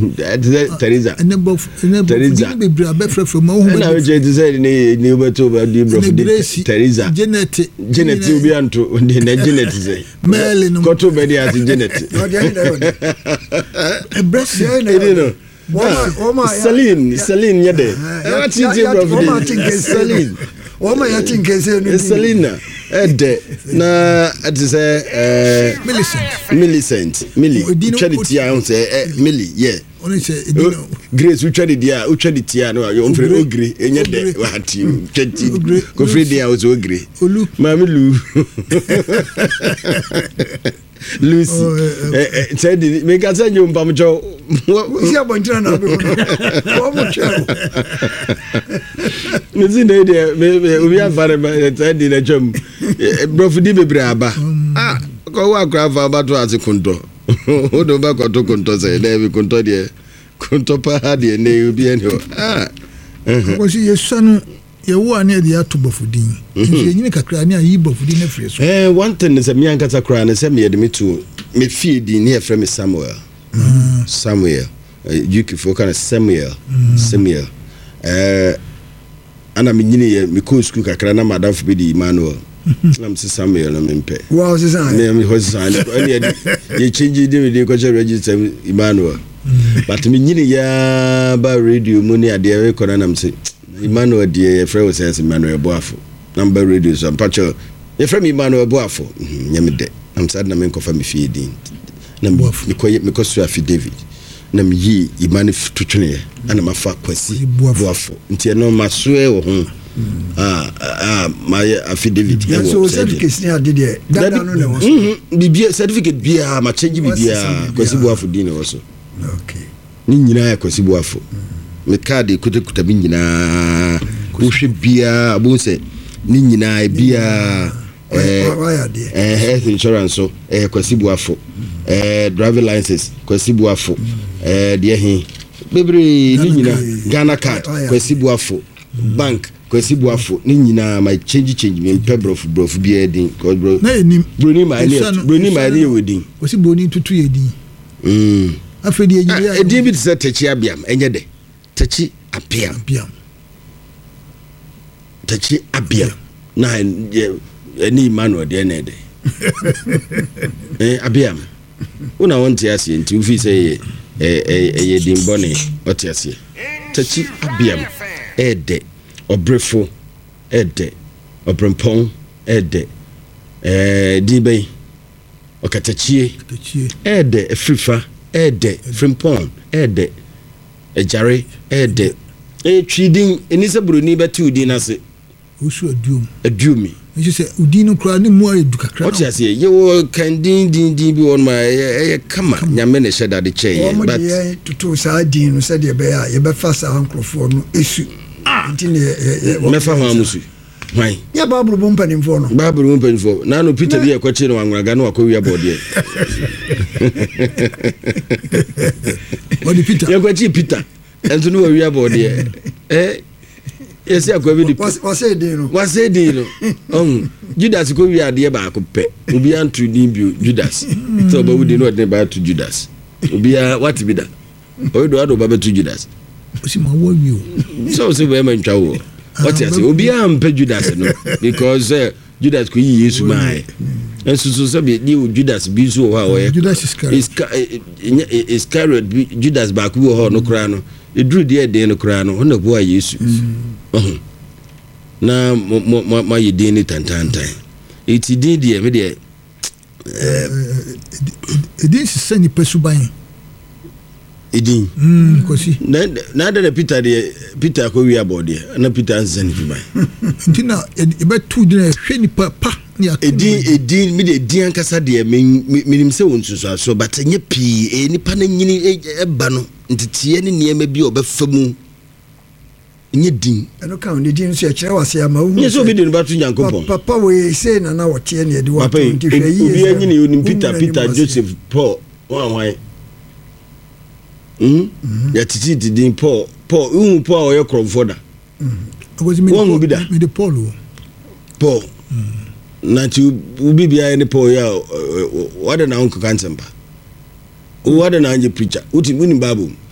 Ɛte sɛ Teresa. Ɛnɛ brɔfo ɛnɛ brɔfo Teresa. din bebree abɛfrɛfrɛ mu ahohom Ɛna wokyerɛ te sɛ ne ne wobɛto bɛde brɔfo ɛnɛ din Grace Teresa. Janet Janet obi anto de na Janet sɛ. Mary no Kɔto bɛde ase Janet. Ɔdeɛ ne na ɛyɛ ɔdɛ. ɛbrɛ sɛ Deɛ na Ɛdi ɛyɛ no. ɔdɛ. Wɔn a Celine Celine nyɛ dɛ. Ɛwɔ titi brɔfo Wɔn a din. te nkɛse Celine. Wɔn a yɛte nkɛse no din. Selina ɛdɛ na ɛte sɛ ɛɛ Millicent Millicent Millie Edin no- wotwa ne ti a ɛho sɛ ɛ Millie yɛ ɔne sɛ ɛdi no Grace wotwa ne di a wotwa ne ti a no yɛ ɔmfrɛ Ogre. ogre ɛnyɛ dɛ Ogre. wati twa ti Ogre. kofiri din a wosɛ ogre Olu. maame lu Lucy Oh, eh, ɛ ɛ sɛ di meka sɛ nye mpamkyɛw Wosi abɔnten na abɛhu no. Wɔn mo twɛ o. mesi na yi deɛ me me obi afa ne ba sɛ di na twam borɔfo di bebree aba ah kɔwɔ akora afa abato ase kontɔ wode wobɛkɔto kontɔ sɛ dɛ bi kontɔ deɛ kontɔ paa deɛ ne obi ɛne hɔ ah kɔsi yɛsua no yɛwo a ne yɛde ato brɔfo din nso yɛnyini kakra ne ayi brɔfo din no afiri so Eh, one thing sɛ me ankasa koraa ne sɛ meyɛde me to me fie din ne yɛfrɛ me Samuel Samuel UK foɔ ka no Samuel Samuel eh, ana menyiniiɛ mekɔɔ sukuu kakra na madamfo bi de Emmanuel na mese Samuel no mempɛ Wɔn sisan. me me hɔ sisan ne ɛne yɛde yɛkyɛngye de mede kɔhyɛ register mu Emmanuel but menyini yaa ba radio mu ne adeɛ mekɔ no nam sɛ Emmanuel deɛ yɛfrɛ wo sɛ sɛ Emmanuel Boafo na mba radio so mpakyɛ yɛfrɛ me Emmanuel Boafo nyɛ me dɛ nam sɛ ade na menkɔfa me fie din na mekɔ mekɔ so affidavit na meyii Emmanuel to tweneɛ ana mafa Kwasi Boafo nti ɛno masoɛ wɔ ho a a mayɛ affidavit ɛwɔ so certificate ni ade deɛ dada no na ɛwɔ so bibia certificate biara ma change bibiara Kwasi Boafo din na ɛwɔ so okay ne nyinaa yɛ Kwasi Boafo me card kutakuta bi nyinaa wohwɛ biara bohu sɛ ne nyinaa biara health insurance so ɛyɛ Kwasi Boafo driving license Kwasi Boafo deɛ he bebree ne nyinaa Ghana card Kwasi Boafo bank Kwasi Boafo ne nyinaa ma change change mi mpɛ borɔfo borɔfo biara din na yɛnim broni ma ɛne broni ma ɛne yɛ wɔ din wɔsi broni tutu yɛ din afei deɛ nyinaa edin bi te sɛ Takyi Abiam ɛnyɛ dɛ Takyi Abiam Abiam Takyi Abiam na ɛne Emmanuel deɛ na ɛdɛ Abiam wo na wɔnte aseɛ nti wofi sɛ ɛyɛ ɛyɛ din bɔne ɔte aseɛ Takyi Abiam ɛɛdɛ ɔbrefo ɛɛdɛ ɔbrempɔn ɛɛdɛ ɛɛ din bɛn ɔkatakyie ɛɛdɛ afirifa ɛɛdɛ frimpɔn ɛɛdɛ agyare ɛɛdɛ ɛyɛ twi din ɛni sɛ buroni bɛte wo din ase Osu aduom. Aduomi. Nso sɛ odin no koraa ne mu ayɛ du kakra. Ɔte aseɛ yɛwɔ kan din din din bi wɔ nom a ɛyɛ ɛyɛ kama nyame na ɛhyɛ dade kyɛɛ yɛn. Wɔn de yɛn toto saa din no sɛdeɛ ɛbɛyɛ a yɛbɛfa saa nkurɔfoɔ no esu. Nti ne yɛ yɛ. Mɛfa hwan mo su? Hwan? Nyɛ Baabolo mu mpanimfoɔ no. Baabolo mu mpanimfoɔ. Naano Peter bi a ɛkɔkye no anworaga no wakɔwia bɔɔdeɛ. Wɔde Peter. Yɛkɔkye Peter. Ɛnso no wawia bɔɔdeɛ. Eh? Yɛsi akwa bi de. Wasɛ din no. Wasɛ din no. Ɔhu. Judas kɔ wia adeɛ baako pɛ. Obiara nto din bio Judas. Sɛ ɔbɛwo din no ɔde ne ba ato Judas. Obiara wate bi da. Ɔyɛ do ade ɔba bɛto Judas. Ɔsi ma wɔ wie o. Sɛ ɔsɛ bɛrima ntwa wɔ. Ɔte ase. Obiara mpɛ Judas no because sɛ Judas kɔ yi Yesu maa yɛ. Nso so sɛ bi ne Judas bi nso wɔ hɔ a ɔyɛ. Judas Iscariot. Iscariot bi Judas baako bi wɔ hɔ no koraa no. Eduru deɛ ɛden no koraa no ɔna boa Yesu. Ɔho. Na mo mo mo ayɛ din ne tantantan. Eti din deɛ me deɛ. Edin sesa nipa suban. Edin. Kwasi. Na na adɛ na Peter deɛ Peter akɔ wi abɔ deɛ na Peter nsesa ne suban. Nti na ɛbɛto din a ɛhwɛ nipa pa ne ato. Edin edin mi de edin ankasa deɛ me menim sɛ wɔn nsunsuansoɔ but ɛnyɛ pii ɛyɛ nipa no nyini ɛba no nteteɛ ne nneɛma bi a ɔbɛfa mu. Nyɛ din. Ɛno ka ho, ne din nso yɛkyerɛ wase ama wohu Nyɛ sɛ obi de ne ba to Nyankopɔn. Papa wei sei na na ɔteɛ ne yɛde wo Papa ato yi, nti hwɛ yie obi sɛ anyini onim wonwu Peter, n'anim Peter, ase. Joseph, Paul, hwan hwan. Mm? Yɛtetete din Paul, Paul, wohu Paul a ɔyɛ korɔmfoɔ da? Akwasi, mede Woahu Paul- bi da? Mede Paul o. Paul. Na nti wo biribiara ne Paul yi a, wadɛn na wonkeka nsɛmpa? Wo ade na anyɛ preacher? Wonim Bible mu?